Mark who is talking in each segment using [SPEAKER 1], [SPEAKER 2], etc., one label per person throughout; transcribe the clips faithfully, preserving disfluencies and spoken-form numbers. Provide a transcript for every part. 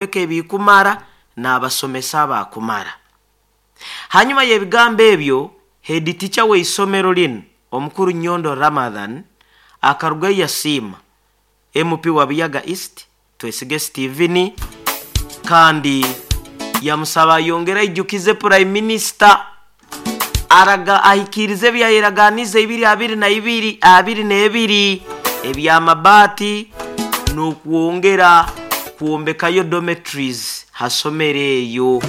[SPEAKER 1] Ebikumara n'abasomesa abakumara. Hanyuma y'ebigambo ebyo, head teacher w'eisomero linu, omukuru Nyondo Ramadhan, akarugayo yasiima M P wa Buyaga East, Twesige Steven, kandi yamusaba ayongere aijukize Prime Minister araga ahikirize ebyayeraganize ibiri abiri na ibiri abiri n'ebiri ebyamabaati n'okwongera kwombekayo dormitories hasomero eyo.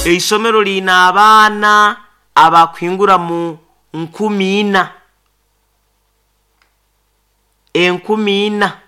[SPEAKER 1] Eisomero liina abaana abakuhingura mu nkumi ina, enkumi ina.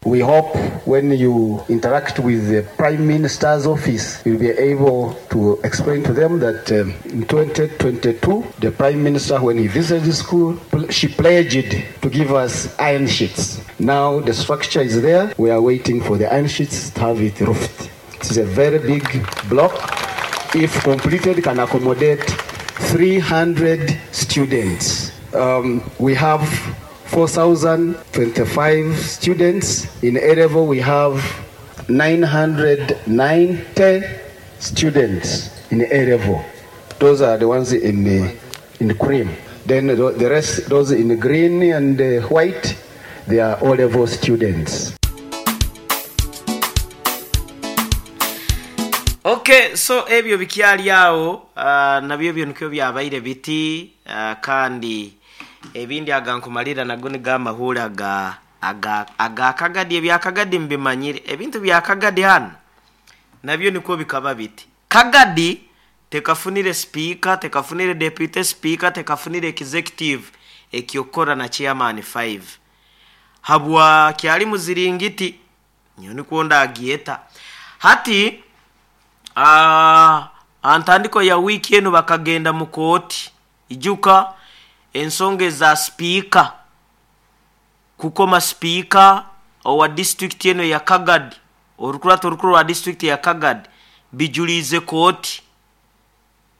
[SPEAKER 2] We hope when you interact with the Prime Minister's office, you'll be able to explain to them that um, in twenty twenty-two, the Prime Minister, when he visited the school, she pledged to give us iron sheets. Now the structure is there. We are waiting for the iron sheets to have it roofed. It is a very big block. If completed, can accommodate three hundred students. Um, we have four thousand twenty-five students. In A level, we have nine hundred ninety students in A level. Those are the ones in the, in the cream. Then the the rest, those in green and uh, white, they are O level students.
[SPEAKER 1] Okay, so ebyo bikyali awo, uh, nabyo ebyo nikyo byabaire biti, uh, kandi ebindi agankumalira nago nigo amahuri aga aga aga Kagadi. Ebyakagadi mbimanyire, ebintu bya Kagadi hano nabyo niko bikaba biti. Kagadi tekafunire speaker, tekafunire deputy speaker, tekafunire executive ekyokora na chairman five habwa kyali muziringiti nyo nikwo ndagieta hati. Ah, antandiko ya wiiki eno bakagenda mu kooti, ijuka ensonga eza sipiika, kukoma sipiika owa disitulikiti eno ya Kagadi, orukurato orukuru rwa disitulikiti ya Kagadi, bijuliize kooti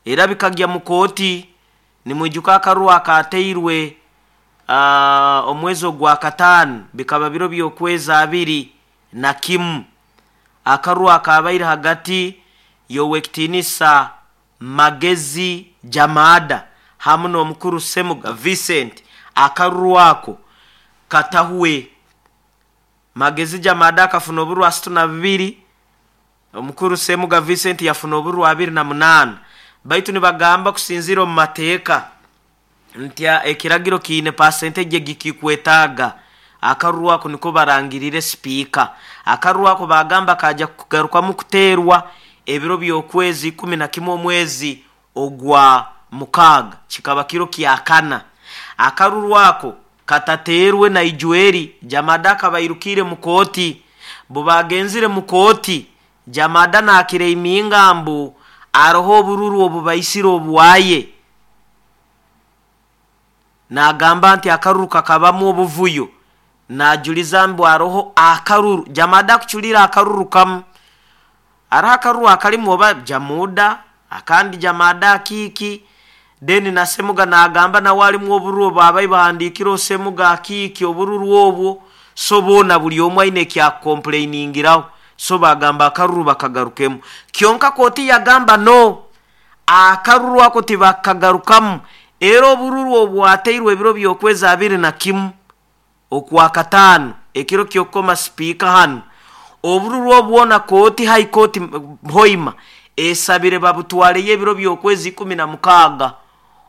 [SPEAKER 1] era bikagya mu kooti. Nimwijuka akaruru akateirwe uh, omwezi ogwa kataano, bikaba biro by'okwezi abiri na kimu, akaruru akabaire hagati y'owekitinisa Magezi Jamada hamu n'omukuru Semuga Vincent. Akaruru ako katahwe. Magezi Jamada akafuna oburwa asatu na bubiri, omukuru Semuga Vincent yafuna oburwa abiri na munaana, baitu nibagamba kusinzira omu mateeka nti ekiragiro kiine percentage gikikwetaaga. Akaruru ako niko barangirire sipiika. Akaruru ako bagamba kaja kugarukamu kuteerwa ebiro by'okwezi ikumi na kimwe omwezi ogwa mukaaga, kikaba kiro kyakana. Akaruru ako katateerwe na ijweri Jamada akabairukire mu kooti. Bo bagenzire mu kooti, Jamada nakireiminga mbu aroho obururu obubaisire obuwaye, nagamba nti akaruru kakabamu obuvuyo, najuliza mbu aroho akaruru Jamada kuculira akaruru kamu, aroho akaruru akalimu oba Jamuda akandi Jamada akiiki. Then na Semuga nagamba nawe alimu obururu obu abai bahandikire Osemuga akiiki obururu obwo. So boona buli omu aine ekyakukomplainingiraho, so bagamba akaruru bakagarukemu. Kyonka kooti yagamba no, akaruru ako tibakagarukamu, era obururu obwateirwe ebiro by'okwezi abiri na kimu okwa kataano, ekiro kyokukoma sipiika hano, obururu obwona kooti, High Court Hoima esabire babutwaleyo ebiro by'okwezi ikumi na mukaaga.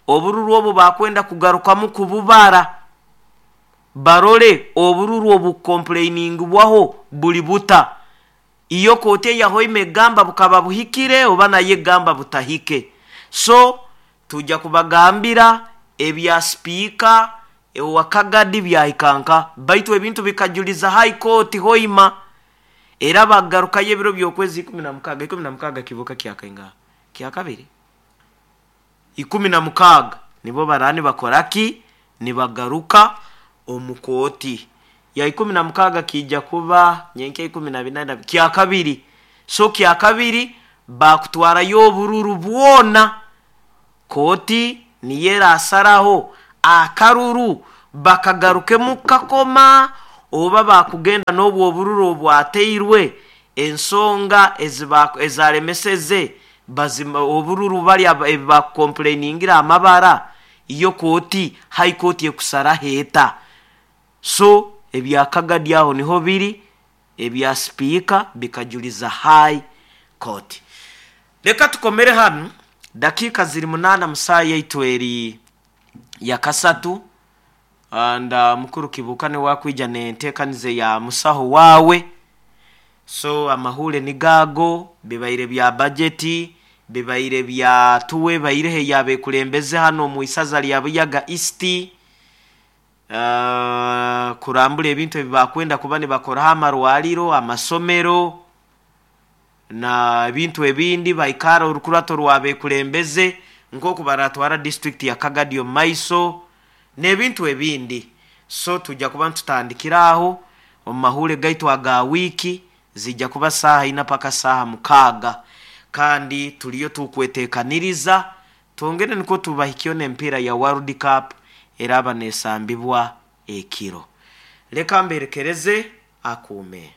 [SPEAKER 1] Obururu obwo bakwenda kugarukamu kububara, barole obururu obukomplainingibwaho buli buta. Iyo kooti eya Hoima egamba bukaba buhikire oba naye egamba butahike. So tujja kubagambira ebya sipiika ewa Kagadi byahikanka, baitu ebintu bikajuliza High Court Hoima, era bagarukayo ebiro by'okwezi ikumi na mukaaga. Ikumi na mukaaga kibuka kyakainga kyakabiri, ikumi na mukaaga nibo barani bakoraki, nibagaruka omu kooti ya ikumi na mukaaga, kijja kuba nyenkya ikumi na binana, kyakabiri. So kyakabiri bakutwarayo obururu bwona, kooti niyo erasaraho akaruru bakagarukemu kakoma. Oba bakugenda n'obwo obururu obwateirwe, ensonga ezalemeseze bazima obururu bali ebibakukomplainingira amabara, iyo kooti high court ekusaraho eta. So ebya Kagadi aho niho biri, ebya sipiika bikajuliza high court. Leka tukomere hanu, dakiika ziri munaana musaa yaitu eri ya kasatu. And uh, mukuru Kibuuka niwe wakwija nenteekanize ya musaho waawe. So amahule nigago, bibaire bya bajeti, bibaire bya tuwe bairehe yabekulembeze hano mu isaza lya Buyaga East, uh, kurambula ebintu ebibakwenda kuba nibakoraho amarwariro, amasomero na ebintu ebindi. Baikara orukurato rwabekulembeze nk'oku baratwara district ya Kagadi omu maiso n'ebintu ebindi. So tujja kuba ntutandikira aho omu mahule gaitu aga wiiki, zijja kuba saaha ina paka saaha mukaaga, kandi tuliyo tukwetekaniriza twongere nikwo tubahikyo n'empiira ya World Cup eraba nesambibwa ekiro. Leka mberekereze akuume.